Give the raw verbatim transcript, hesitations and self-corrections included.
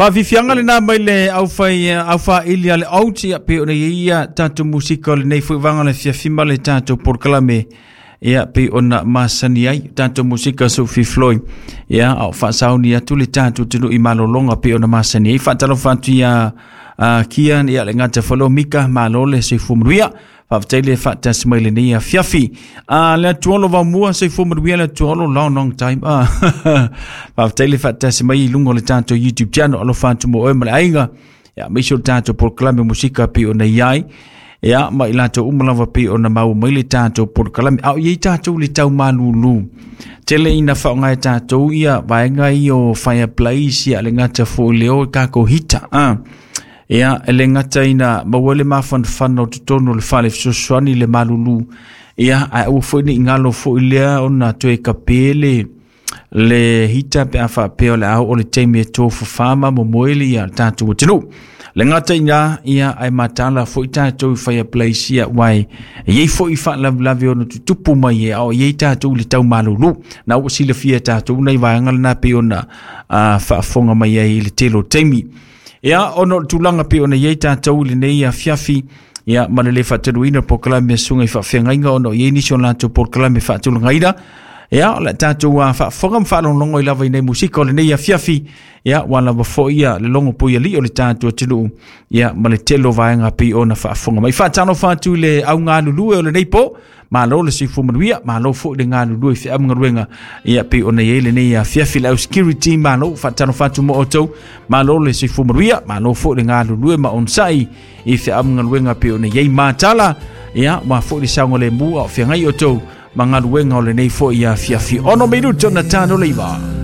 Faafiafiaga lenā mai le aufai aufaili a le out ia pei ona iai ia tatou musika o lenei foi vaega o le afiafi ma le tatou polokalame ia pei ona masani ai tatou musika Sophie Floyd ia a o faasauni atu le tatou atunuu i malologa pei ona masani ai. Faatalofa atu ia Kian ia le gata foi leo Mika, malo le soifua manuia. Faafetai le faatasi mai lenei afiafi. Ah, le atuolo vaomua, soifua manuia le atuolo, long long time. Ah, faafetai le faatasi mai i luga o le tatou YouTube channel, alofa atu mo oe ma le aiga. Ia aemaise o le tatou polokalame musika pei ona i ai. Ia ma i latou uma lava pei ona maua mai le tatou polokalame. A o i ai tatou le tau malulu. Tele ina faaaoga e tatou ia vaega ia o fireplace ia le gata foi leo tatou heater. Ah. Ia, e le gata ina maua le mafanafana o totonu o le fale fesoasoani le malulu. Ia, ae aua foi ne i galo foi lea ona toe kape le le hita pe a faapea o le a oo le taimi e tofafa ma momoe le ia tatou atunuu. Le gata ina ia ae matala foi tatou i fireplace ia uae e iai foi faalavelave ona tutupu mai e a o iai tatou i le tau malulu. Na ua silafia e tatou nai vaega lena pei ona uh, faafofoga mai ai i le tele o taimi. Ia, ona o le tulaga pei ona iai tatou i lenei afiafi, ia, ma le le faataluina polokalame a susuga i faafeagaiga ona o iai nisi o latou polokalame faatulagaina. Ia, o le tatou uh, faafofoga ma faalogologo ai lava i nei musika o lenei afiafi, ia, ua lava foi ia le logo puialii o le tatou atunuu, ia, ma le tele o vaega pei ona faafofoga mai. Faatalofa atu i le au galulue o lenei po, malo le soifua manuia, malo foi le galulue i feaugaluega, ia, pei ona iai lenei afiafi le au security, malo, faatalofa atu mo outou, malo le soifua manuia, malo foi le galulue ma onosai i feaugaluega pei ona iai matala, ia, ua foi le saogalemu a o feagai outou ma galuega o lenei foi afiafi. Ono minuto na tano leiva.